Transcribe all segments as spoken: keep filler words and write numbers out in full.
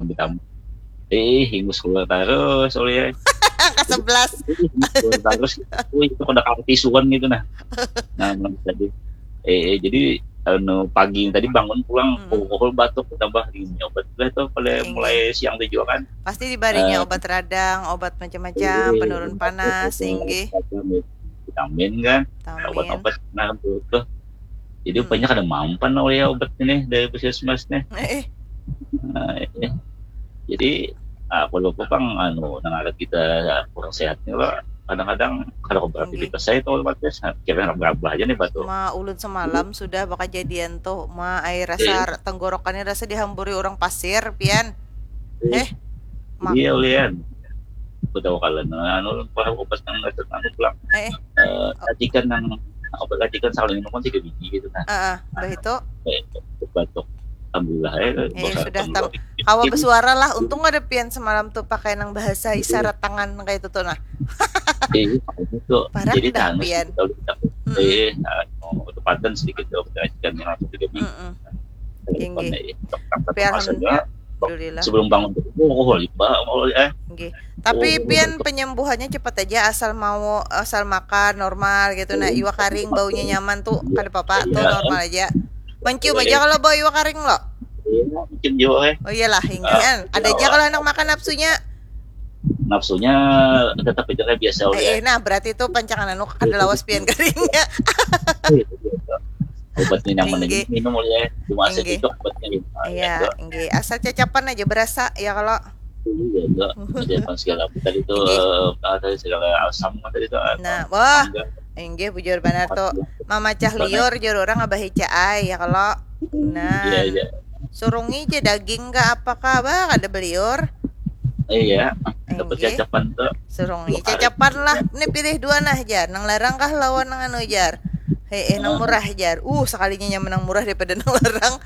Ditambah. Eh, hingus keluar terus, oleh. Angka sebelas. Hingus keluar terus. Wih, itu kada kalah tisuan gitu nah. Nah, menurut tadi. Eh, eh, jadi anu pagi tadi bangun pulang Hmm. pukul batuk tambah ini obat lah tuh pada Tinggi. Mulai siang tuh juga kan. Pasti dibarinya Eh. Obat radang, obat macam-macam, Eh, penurun obat panas, itu, inggih. Vitamin kan, Vitamin. Obat-obat nah tuh, tuh. Jadi Hmm. banyak ada mampan oleh ya obat ini dari puskesmas nih. Eh, eh. Nah, ini. Jadi aku lupa bang anu nang ada kita kurang sehat nih lo kadang-kadang kalau beraktivitas saya itu otomatis nah, kira anak berapa aja nih batu. Ma ulun semalam sudah bakajadian tuh, ma ai rasa tenggorokannya rasa dihamburi orang pasir, pian. Eh, mak. Iya ulian. Aku tahu kalian anu para obat yang nggak anu pulang. Eh, Eh, racikan yang obat racikan saling minum kan tiga biji gitu kan. Heeh, bah itu. Eh, batuk. Alhamdulillah ya. Eh, sudah tam kawa bersuara lah. Untung ada pian semalam tuh pakai nang bahasa isyarat tangan kayak itu tuh nah. Iya, itu. Parak Jadi dah, tangan pian. Kalau kita Mm-mm. eh anu, tempatan sedikit dok racikan yang aku tiga biji. Mm-mm. Teleponnya Tinggi. ya. Dok, dok, Tapi maksudnya, alhamdulillah. Sebelum bangun tuh, oh, oh, liba, oh, eh. Nggih. Tapi Oh, pian betul. Penyembuhannya cepat aja asal mau asal makan normal gitu nah. Iwa karing baunya nyaman tuh Iya. Kada apa-apa tuh Iya. Normal aja. Mencium Iya. Aja kalau bau iwa karing lo. Iya, mungkin juga eh. Oh iyalah, inggihan. Ada aja kalau anak makan nafsunya. Nafsunya tetap aja kayak biasa Eh, eh, nah berarti itu pancangan anu kada lawas pian karingnya. Obatnya nyaman aja Inggih. Minum oleh cuma Inggih. Sedikit obatnya gitu. Iya, inggih. Asal cacapan aja berasa ya kalau. Iya, enggak. Ada segala tadi itu Inggih. Eh, ada segala asam tadi itu. Nah, wah. Inggih bujur banar tuh. Mamacah liur jur orang abah ica ai ya kalau. Nah. Iya, iya. Surungi aja daging kah apa kah bah kada beliur. Iya. Dapat cacapan tuh. Surungi cacapan lah. Ini pilih dua nah jar. Nang larang kah lawan nang anu jar. Hei, eh, nang murah jar. Uh, sekalinya nyaman nang murah daripada nang larang.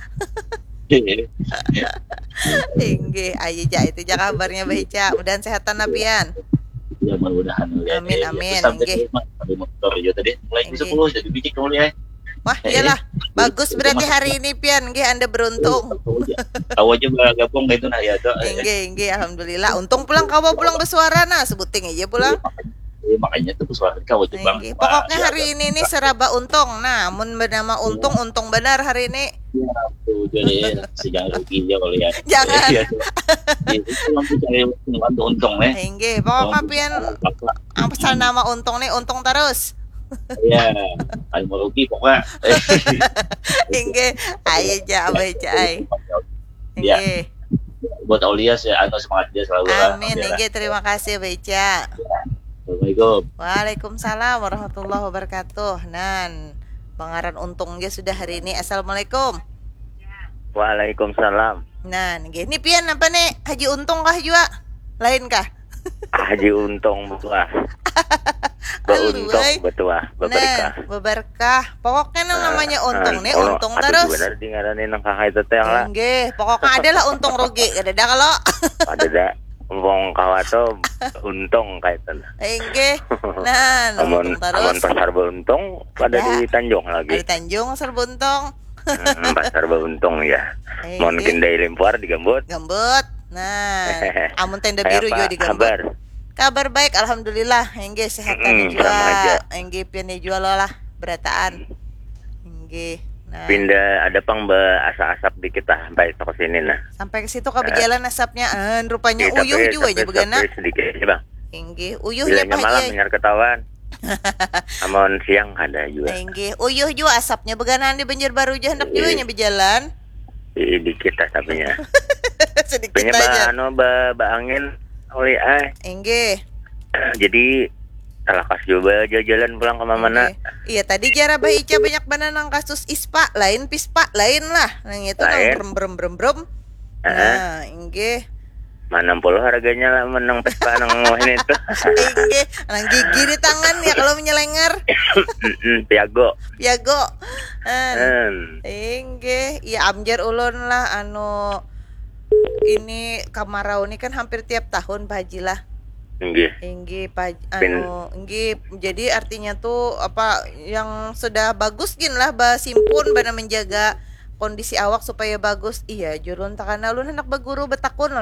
Inggih, ayo ja itu ja kabarnya Bah Ica. Mudahan sehatan apian. Ya mudah-mudahan. Amin, amin. Inggih. Motor ya tadi mulai jam sepuluh jadi biji kau ya. Wah, iyalah. Bagus berarti hari ini pian nggih Anda beruntung. Tahu aja bergabung gitu nah ya tuh. Inggih, inggih, alhamdulillah. Untung pulang kawa pulang bersuara nah, sebuting aja pulang. Iya, makanya tuh suara kau aja bang. Pokoknya hari ini nih seraba untung. Nah, mun bernama untung, untung benar hari ini. Ya, tuh jadi sejak rugi ya kalau ya. Jangan. Iya, tuh. Iya, itu yang bisa lewat untung nih. Inggih, pokoknya pian apa nama untung nih untung terus. Ya, kalau mau rugi pokoknya. Inggih, ayo ja abah ja ai. Ya. Inggih. Buat Aulia sih anu semangat dia selalu. Amin, inggih terima kasih abah ja. Assalamualaikum. Waalaikumsalam warahmatullahi wabarakatuh. Nan, pengaran untung ge sudah hari ini. Assalamualaikum. Waalaikumsalam. Nah, nggih. Ini pian apa nih? Haji Untung kah jua? Lain kah? Haji Untung betuah. Beuntung betuah, beberkah. Beberkah. Pokoknya nang namanya untung nih untung terus. Benar di ngaran nang kakak itu teh lah. Nggih, pokoknya adalah untung rugi, kada ada kalau. Ada dah. Wong kawa tuh untung kayak itu. Inggih. Nah, amun amun pasar beruntung pada di Tanjung lagi. Di Tanjung pasar beruntung. Hmm, pasar beruntung ya. Mau kindai limpuar digambut. Gambut. Nah, amun tenda biru juga digambut. Kabar. Kabar baik, alhamdulillah. Inggih sehatan juga. Inggih pian juga lo lah berataan. Inggih. Nah. Pindah ada pang be asa asap dikit lah sampai ke sini nah. Sampai ke situ ke bejalan asapnya. Eh, rupanya uyuh juga nya begana. Sedikit aja bang. Inggih, uyuh nya malam dengar ketahuan. Amun siang ada juga. Inggih, uyuh juga asapnya beganaan di Banjarbaru ja hendak juga nya bejalan. Ih, dikit lah tapi nya. Sedikit aja. Anu ba, ba angin oli ai. Inggih. Jadi talakas juga jalan pulang ke mana. Iya, tadi jar abah Ica banyak banar nang kasus ispa, lain pispa, lain lah. Nang itu nang brem brem brem brem. Nah, inggih. Mana puluh harganya lah menang pespa nang wahini itu. Inggih, nang gigi di tangan ya kalau menyelengar. Piago. Piago. Inggih, iya amjar ulun lah anu ini kamarau ni kan hampir tiap tahun Pak Haji lah. Inggih. Inggih Pak anu inggih jadi artinya tuh apa yang sudah bagus gin lah basimpun bana menjaga kondisi awak supaya bagus. Iya, jurun takana ulun hendak baguru betakun lawan